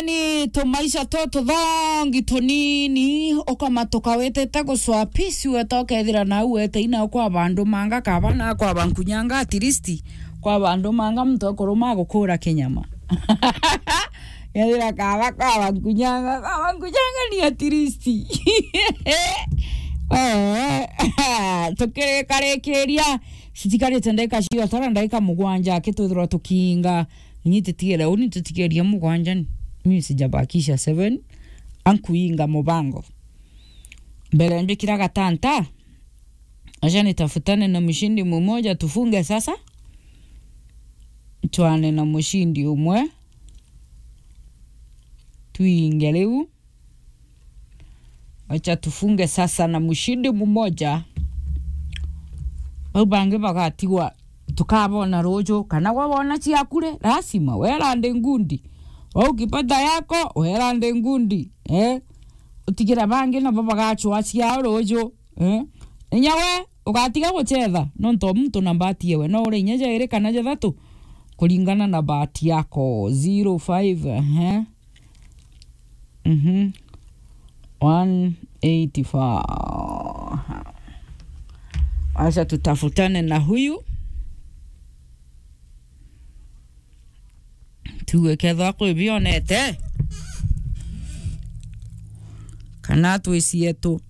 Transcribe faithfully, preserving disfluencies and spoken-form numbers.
Ni tumaisha tu tuthongi tunini, ukamatuka witite gucwa peace, weta ukethira nau wete ina kwa bandu manga kaba na kwa bankunyanga, at least kwa bandu manga muntu akuruma gukura kinyama. Ethira kaba kwa bankunyanga, kwa bankunyanga ni at least. Eh, tukirikarikiria, citikarite ndagika cio tara ndagika mugwanja, akitwithirwa tukiinga. Ni tutigere uni tutigerie mugwanja ni. Mimi sijabakisha seven. Ankuinga mubango. Mbere mbikira gatanta. Acha nitafutane na mshindi mmoja tufunge sasa. Twane na mshindi umwe. Tuinge riu. Acha tufunge sasa na mshindi mmoja. Bau bangi bagatigwa tukabona ruju, kana gwe wona ciaku ri, lazima wera ndi ngundi. Wau ukipata yako, wera ndi ngundi. Eh? Utigira bangi nabo bagacwa ciao ruju. Eh? Inya we ugatiga gucetha, nontu o muntu na mbati yewe. No ure inya jairi kana jathatu, kuringana na bahati yako. Zero five, ehe. Mhm. One eighty-four. Acha tutafutane na huyu. Tuwe kethwa kwi bionete. Kana twiciye tu.